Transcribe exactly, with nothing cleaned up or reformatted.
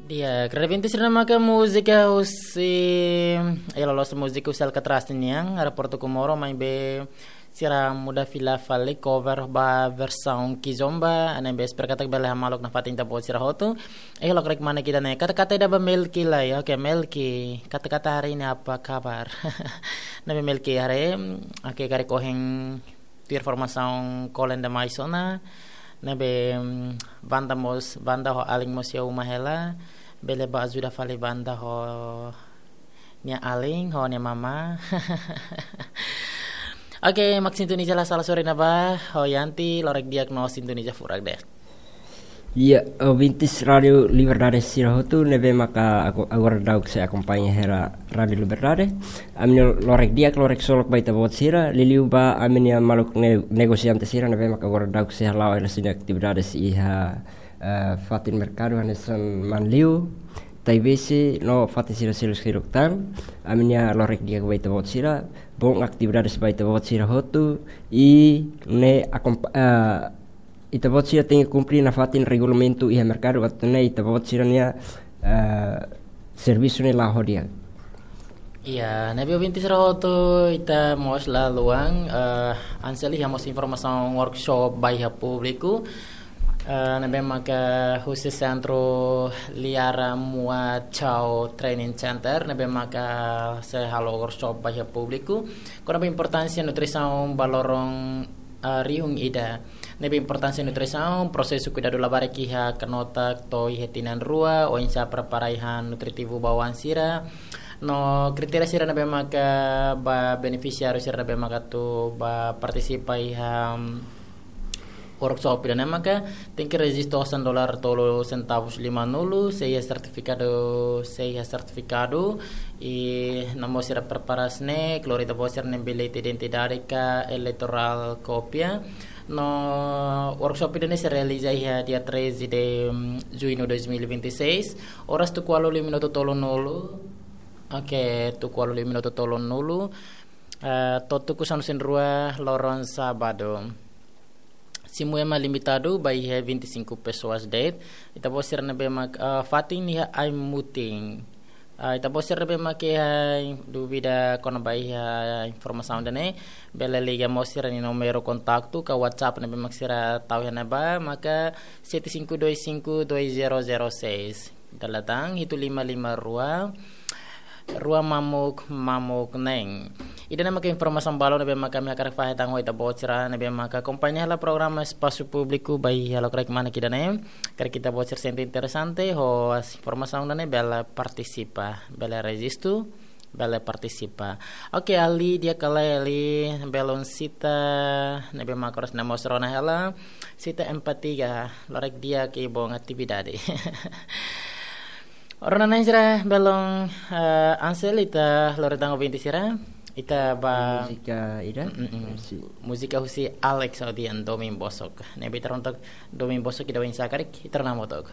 Di'ak, Revinte sira maka múzika husi, eh, loloos múzika husi Alcatraz nian, Aeroportu Comoro, maibé sira muda fila fali cover ba versaun kizomba, ne'ebé espera katak bele hamaluk nafatin ita-boot sira hotu. Eh, loke karik manek ida-ne'e, kata-kata ida ba Melki lai, oke, Melki, kata-kata hari ini apa kabar? Ne'ebé Melki haree, oke, karik ohin tuir formasaun kolen demais ona, ne'ebé, mm, banda mós, banda ho alin mós iha uma hela, bele bá ajuda fali banda ho nia alin, ho nia mama. Oke, mak sintoniza la sala sore ne'ebá, ho Yanti, lorek di'ak no sintoniza furak de'it. Iya, ouvintes Rádio Liberdade sira hotu, ne'ebé maka aku, agora daudaun sei akompaña hela Rádio Liberdade. Ami-nia lorek di'ak, lorek solok ba ita-boot sira, liuliu ba ami-nia maluk ne-, negosiante sira, ne'ebé maka agora daudaun sei hala'o hela sira-nia atividades iha, eh, fatin merkadu hanesan Manliu, Taibesi, no fatin sira seluk-seluk tan. Ami-nia lorek di'ak ba ita-boot sira, bom atividades ba ita-boot sira hotu, i ne'e akompa-, eh, ita-boot sira tenke kumpre nafatin regulamentu iha merkadu, atu nune'e ita-boot sira-nia, eh, servisu ne'e la'o ho di'ak. Iya, ne'ebé ouvintes sira hotu, ita mós la haluha, eh, Anseli iha mós informasaun workshop ba iha públiku, eh, ne'ebé maka husi Sentru Liara Mua Chao Training Center, ne'ebé maka sei halo workshop ba iha públiku kona-ba importánsia nutrisaun ba loron, eh, rihun ida. Ne'ebé importánsia nutrisaun, prosesu kuidadu labarik iha kanotak to'o iha tinan rua, oinsá prepara ai-han nutritivu ba oan sira, no kritéria sira ne'ebé maka ba benefisiáriu sira ne'ebé maka atu ba partisipa iha, mm, workshop ida-ne'e maka tenke rejistu osan dolar tolu sentavus lima-nulu, sei iha sertifikadu, sei iha sertifikadu, i nomor sira prepara snek, lori ita-boot sira-nia bilhete identidade ka eleitorál kópia. No workshop ida-ne'e sei realiza iha dia treze de, mm, junho dois mil e vinte e seis, oras tuku ualu liu minutu tolu-nulu. Oke, tuku ualu liu minutu tolu-nulu, eh, to'o tuku sanulu-resin-rua loron sábadu. Simu ema limitadu ba iha vinte e cinco pessoas de'it. Ita-boot sira ne'ebé mak, eh, fatin iha ai-mutin. Eh, ita-boot sira ne'ebé mak iha dúvida kona-ba iha informasaun ida-ne'e, bele liga mós sira-nia númeru kontaktu ka WhatsApp ne'ebé mak sira tau iha ne'ebá, maka sete cinco dois cinco dois zero zero seis. Dala tan hitu lima lima rua, rua mamuk mamuk neen. Ida-ne'e maka informasaun balun ne'ebé maka ami hakarak fahe tan ho ita-boot sira ne'ebé maka akompaña hela programa Espasu Públiku ba iha loke karik manek ida-ne'e. Karik ita-boot sira sente interesante ho informasaun ida-ne'e, bele partisipa, bele rejistu, bele partisipa. Oke, Ali, di'ak ka lae, Ali, belun Sita ne'ebé maka oras ne'e mós rona hela, Sita empat tiga, lorek di'ak i bom atividade. Rona na'in sira, belun, eh, Ansel, ita lori tan ouvintes sira, ita ba múzika ida? Mm, mm, mm. Múzika husi Alex Audian, Domin Bosok. Ne'ebé ita rona took Domin Bosok ida oinsá karik, ita rona hamutuk.